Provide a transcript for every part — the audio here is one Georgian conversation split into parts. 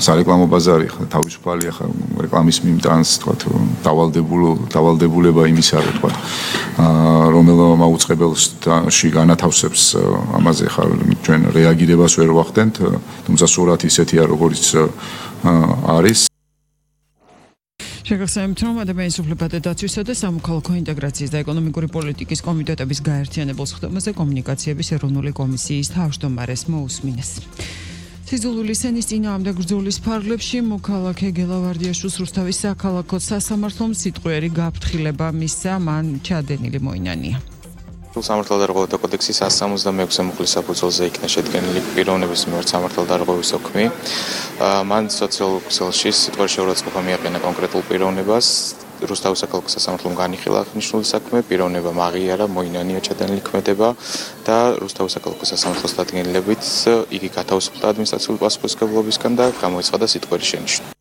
სარეკლამო ბაზარი ხა თავისუფალია ხა რეკლამის მიმტანს თქვა დავალდებულება იმისა რა თქვა რომელ მაუწყებელში განათავსებს ამაზე ხა ჩვენ რეაგირებას ვერ ვახდენთ თუმცა სურათი ისეთია როგორც არის შეგახსენებთ, რომ ადამიანის უფლებათა დაცვისა და სამოქალაქო ინტეგრაციის და ეკონომიკური პოლიტიკის კომიტეტების გაერთიანებულ სხდომაზე კომუნიკაციების ეროვნული კომისიის თავმჯდომარეს მოусმინეს. სიზულულის ენის წინააღმდეგ ბრძოლის ფარგლებში მოქალაქე გელავარდიაშვილს რუსთავის საქალაქო სასამართლომ სიტყვიერი გაფრთხილება მისცა, მან ჩადენილი მოინანია. სამართალდარღვევათა კოდექსის 166 მუხლის საფუძველზე იქნა შედგენილი პიროვნების მიმართ სამართალდარღვევის ოქმი. მან სოციალურ ქსელში სიტყვიერი შეურაცხყოფა მიაყენა კონკრეტულ პიროვნებას. რუსთავის საქალაქო სასამართლომ განიხილა აღნიშნული საქმე, პიროვნება აღიარა, მოინანია ჩადენილი ქმედება და რუსთავის საქალაქო სასამართლოს დადგენილებით იგი გათავისუფლდა ადმინისტრაციული პასუხისმგებლობისგან და გამოიცხადა სიტყვიერი შენიშვნა.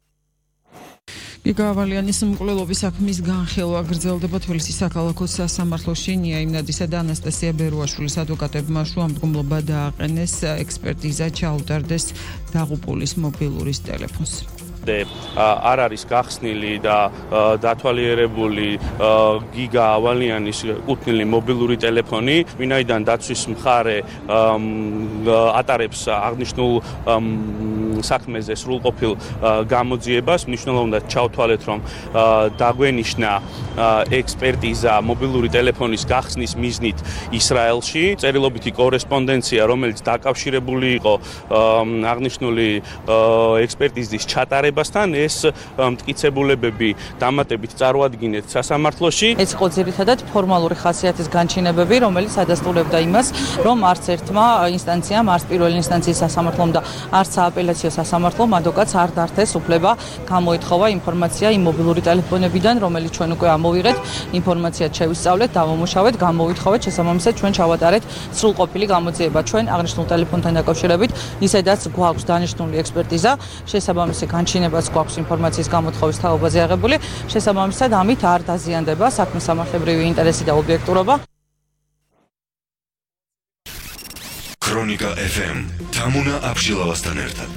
გიგა ავალიანის მკვლელობის საქმის განხილვა გრძელდება თბილისის საქალაქო სასამართლოში. ნია იმნადისა და ანასტასია ბერუაშვილის ადვოკატებმა შუამდგომლობა დააყენეს, ექსპერტიზა ჩაუტარდეს დაღუპულის მობილურის ტელეფონს. არ არის გახსნილი და დათვალიერებული გიგა ავალიანის კუთვნილი მობილური ტელეფონი, ვინაიდან დაცვის მხარე ატარებს აღნიშნულ საქმეზე სრულყოფილ გამოძიებას, მნიშვნელოვნად უნდა ჩავთვალეთ, რომ დაგვენიშნა ექსპერტიზა მობილური ტელეფონის გახსნის მიზნით ისრაელში, წერილობითი კორესპონდენცია, რომელიც დაკავშირებული იყო აღნიშნული ექსპერტიზის ჩატარებასთან, ეს მტკიცებულებები დამატებით წარმოადგინეთ სასამართლოში. ეს იყო ძირითადად ფორმალური ხასიათის განჩინებები, რომელიც ადასტურებდა იმას, რომ არც ერთმა ინსტანციამ, არც პირველი ინსტანციის სასამართლომ და არც სააპელაციო სასამართლომ ადვოკატს არ დართეს უფლება გამოითხოვა ინფორმაცია იმ მობილური ტელეფონებიდან, რომელიც ჩვენ უკვე ამოვიღეთ, ინფორმაციად შევისწავლეთ, დავამუშავეთ, გამოვითხოვეთ, შესაბამისად ჩვენ ჩავატარეთ სრულყოფილი გამოძიება. ჩვენ აღნიშნულ ტელეფონთან დაკავშირებით ისედაც გვაქვს დანიშნული ექსპერტიზა, შესაბამისი განჩინებაც გვაქვს ინფორმაციის გამოთხოვის თაობაზე აღებული, შესაბამისად ამით არ დაზიანდება საქმის სამართლებრივი ინტერესი და ობიექტურობა. ქრონიკა FM თამუნა აბშილავასთან ერთად.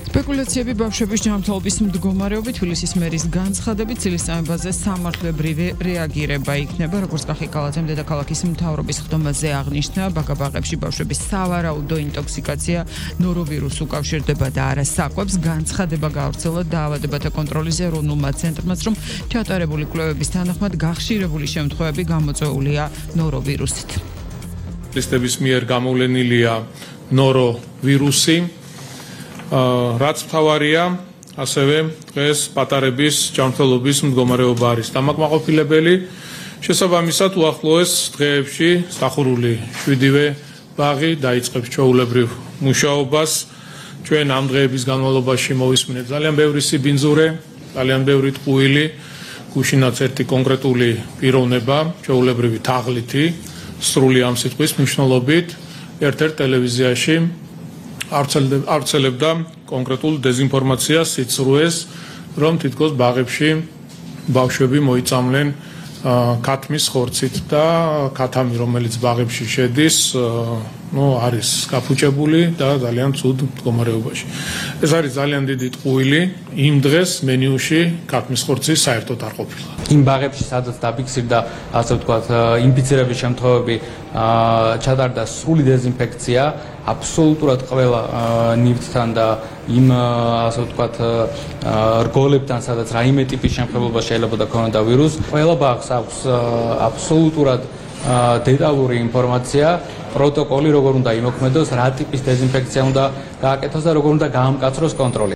სპეკულაციები ბავშვების ჯანმრთელობის მდგომარეობით თბილისის მერის განცხადებით ცილისწამებაზე სამართლებრივი რეაგირება იქნება, როგორც კახიკალათემ დედაქალაქის მთავრობის ხდომაზე აღნიშნა, ბაგაბაღებში ბავშვების სავარაუდო ინტოქსიკაცია ნოროვირუსს უკავშირდება და არა საკვებს. განცხადება გაავრცელა დაავადებათა კონტროლის ეროვნულმა ცენტრმაც, რომ ჩატარებული კვლევების თანახმად გახშირებული შემთხვევები გამოწვეულია ნოროვირუსით. სპეციალისტების მიერ გამოვლენილია ნოროვირუსი. რაც მთავარია, ასევე დღეს პატარების ჯანმრთელობის მდგომარეობა არის დამაკმაყოფილებელი. შესაბამისად, უახლოეს დღეებში სტახურული 7-ვე ბაღი დაიწყებს ჩვეულებრივ მუშაობას. ჩვენ ამ დღეების განმავლობაში მოვისმინეთ ძალიან ბევრი სიბინძურე, ძალიან ბევრი ტყუილი, გუშინაც ერთი კონკრეტული პიროვნება, ჩვეულებრივი თაღლითი, სრული ამ სიტყვის მნიშვნელობით, ერთ-ერთ ტელევიზიაში ავრცელებდა კონკრეტულ დეზინფორმაციას, სიცრუეს, რომ თითქოს ბაღებში ბავშვები მოიწამლენ ქათმის ხორცით და ქათამი, რომელიც ბაღებში შედის, არის გაფუჭებული და ძალიან ცუდ მდგომარეობაში. ეს არის ძალიან დიდი ტყუილი, იმ დღეს მენიუში ქათმის ხორცი საერთოდ არ ყოფილა. იმ ბაღებში, სადაც დაფიქსირდა, ასე ვთქვათ, ინფიცირების შემთხვევები, ჩატარდა სრული დეზინფექცია, აბსოლუტურად ყველა ნივთთან და იმ, ასე ვთქვათ, რგოლებთან, სადაც რაიმე ტიპის შემთხვევებობა შეიძლება დაქვეყნოდა ვირუსი. ყველა ბაღს აქვს აბსოლუტურად დეტალური ინფორმაცია, პროტოკოლი, როგორ უნდა იმოქმედოს, რა ტიპის დეზინფექცია უნდა გააკეთოს და როგორ უნდა გაამკაცროს კონტროლი.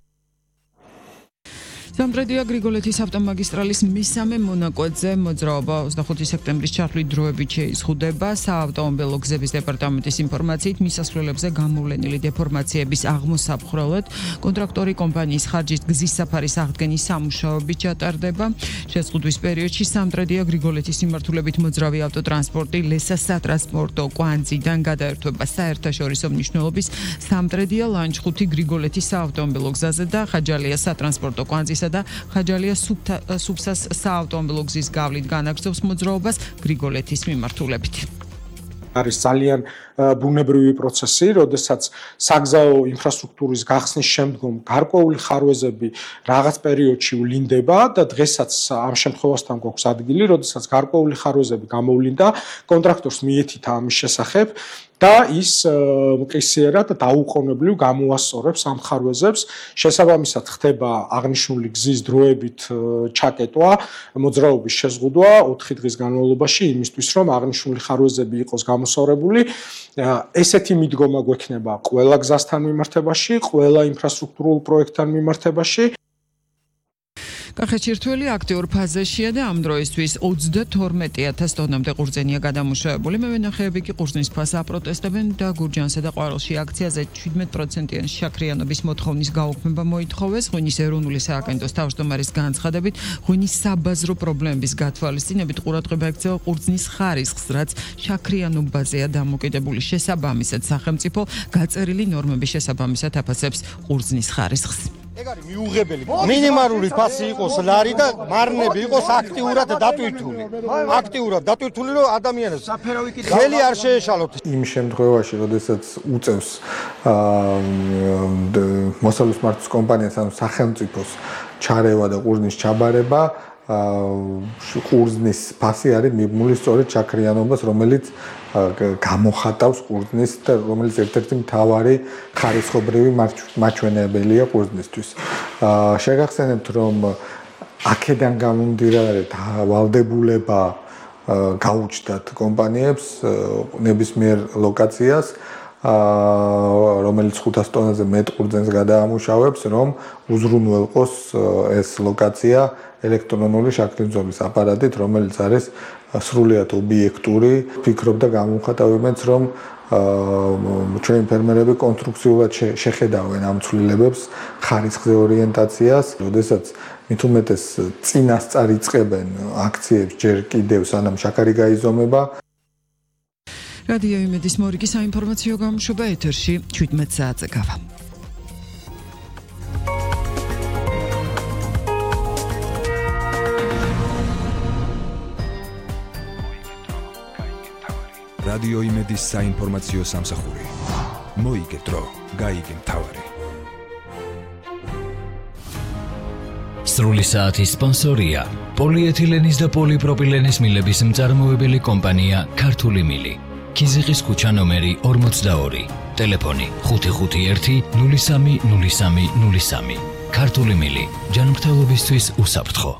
სამტრედია გრიგოლეთის ავტომაგისტრალის მესამე მონაკვეთზე მოძრაობა 25 სექტემბრის ჩათვლით დროებით შეიზღუდება. საავტომობილო გზების დეპარტამენტის ინფორმაციით მისასვლელებზე გამოვლენილი დეფორმაციების აღმოსაფხრელად კონტრაქტორი კომპანიის ხარჯით გზის საფარის აღდგენის სამუშაოები ჩატარდება. შეზღუდვის პერიოდში სამტრედია გრიგოლეთის მიმართულებით მოძრავი ავტოტრანსპორტი ლესა სატრანსპორტო კვანძიდან გადაერთვება საერთაშორისო მნიშვნელობის სამტრედია ლანჩხუთი გრიგოლეთის საავტომობილო გზაზე და ხაჯალია სატრანსპორტო კვანძისა და ხაჯალია სუფსას საავტომობილო გზის გავლით განაგრძობს მოძრაობას გრიგოლეთის მიმართულებით. არის ძალიან ბუნებრივი პროცესი, როდესაც საგზაო ინფრასტრუქტურის გახსნის შემდგომ გარკვეული ხარვეზები რაღაც პერიოდში ვლინდება და დღესაც ამ შემთხვევასთან გვაქვს ადგილი, როდესაც გარკვეული ხარვეზები გამოვლინდა, კონტრაქტორს მიეთითა ამის შესახებ და ის მყისიერად დაუყოვნებლივ გამოასწორებს ამ ხარვეზებს. შესაბამისად ხდება აღნიშნული გზის დროებით ჩაკეტვა, მოძრაობის შეზღუდვა 4 დღის განმავლობაში იმისთვის, რომ აღნიშნული ხარვეზები იყოს გამოსწორებული. ესეთი მიდგომა გვექნება ყველა გზასთან მიმართებაში, ყველა ინფრასტრუქტურულ პროექტთან მიმართებაში. კახეთში რთველი აქტიურ ფაზაშია და ამ დროისთვის 32,000 ტონამდე ყურძენია გადამუშავებული. მევენახეები კი ყურძნის ფასს აპროტესტებენ და გურჯანსა და ყვარელში აქციაზე 17%-იანი შაქრიანობის მოთხოვნის გაუქმება მოითხოვეს. ღვინის ეროვნული სააგენტოს თავმჯდომარის განცხადებით, ღვინის საბაზრო პრობლემების გათვალისწინებით ყურადღება ექცევა ყურძნის ხარისხს, რაც შაქრიანობაზეა დამოკიდებული. შესაბამისად, სახელმწიფო გაწერილი ნორმების შესაბამისად აფასებს ყურძნის ხარისხს. ეგ არის მიუღებელი. მინიმალური ფასი იყოს ლარი და მარნები იყოს აქტიურად დატვირთული. აქტიურად დატვირთული, რომ ადამიანებს ხელი არ შეეშალოთ. იმ შემთხვევაში, როდესაც უწევს მოსალოს მართვის კომპანიას ან სახელმწიფოს ჩარევა და ყურძნის ჩაბარება, ყურძნის ფასი არის მიბმული სწორედ შაქრიანობას, რომელიც გამოხატავს ყურძნის და რომელიც ერთ-ერთი მთავარი ხარისხობრივი მაჩვენებელია ყურძნისთვის. შეგახსენებთ, რომ აქედან გამომდინარე ვალდებულება გაუჩნდათ კომპანიებს ნებისმიერ ლოკაციას, რომელიც 500 ტონაზე მეტ ყურძენს გადაამუშავებს, რომ უზრუნველყოს ეს ლოკაცია ელექტრონული შაქრიბძოლის აპარატით, რომელიც არის სრულიად ობიექტური. ფიქრობ და გამოვხატავებენც, რომ ჩვენი ფერმერები კონსტრუქციულად შეხედავენ ამ ცვლილებებს, ხარისხზე ორიენტაციას, როდესაც მით უმეტეს წინასწარ იწყებენ აქციებს ჯერ კიდევ სანამ შაქარი გაიზომება. რადიო იმედის მორიგი საინფორმაციო გამოშვება ეთერში 17 საათზე გავა. რადიო იმედის საინფორმაციო სამსახური. მოიგე დრო, გაიგე მთავარი. სრული საათის სპონსორია პოლიეთილენის და პოლიპროპილენის მილების მწარმოებელი კომპანია ქართული მილი. ქიზიყის ქუჩა ნომერი 42, ტელეფონი 551 03 03 03. ქართული მილი, ჯანმრთელობისთვის უსაფრთხო.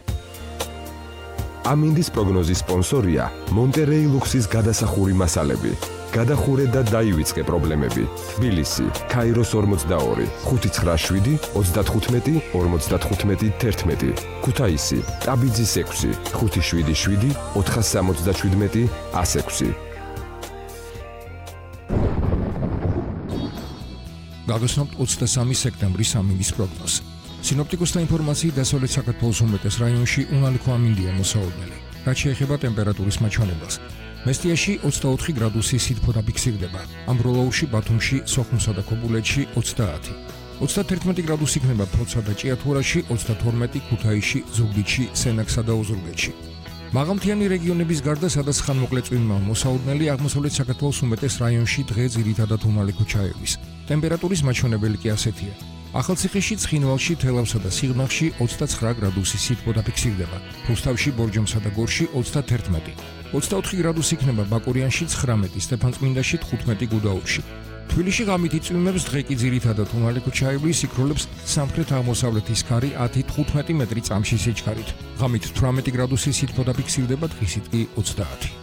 ამინდის პროგნოზის სპონსორია მონტერეი ლუქსის გადასახური მასალები. გადახურე და დაივიწყე პრობლემები. თბილისი, ქაიროს 42, 597 35 55 11. ქუთაისი, ტაბიძის 6, 577 477 106. გაგაცნობთ 23 სექტემბრის ამინდის პროგნოზი. სინოპტიკოსთა ინფორმაციით დასავლეთ საქართველოს უმეტეს რაიონში უნალიქო ამინდია მოსაოდნელი. რაც შეეხება ტემპერატურის მაჩვენებელს. მესტიაში 24 გრადუსი სითბო დაფიქსირდება. ამბროლაურში, ბათუმში, სოხუმსა და ქობულეთში 30. 31 გრადუსი იქნება ფოთსა და ჭიათურაში, 32 ქუთაისში, ზუგდიდში, სენაკსა და ოზურგეთში. მაღალმთიანი რეგიონების გარდა, სადაც ხანმოკლე წვიმაა მოსაოდნელი, აღმოსავლეთ საქართველოს უმეტეს რაიონში დღე ძირითადად უნალიქო ჩაევის. ტემპერატურის მაჩვენებელი კი ასეთია. ახალციხეში, ცხინვალში, თელავსა და სიღნაღში 29 გრადუსი სითბო დაფიქსირდება. რუსთავში, ბორჯომსა და გორში 31. 24 გრადუსი იქნება ბაკურიანში, 19, სტეფანწმინდაში, 15 გუდაუთში. თბილისში ღამით იწვიმებს, დღე კი ძირითადად უნალიქო ჩაივლის, იქროლებს სამხრეთ-აღმოსავლეთის ქარი 10-15 მეტრი წამში სიჩქარით. ღამით 18 გრადუსი სითბო დაფიქსირდება, დღისით კი 30.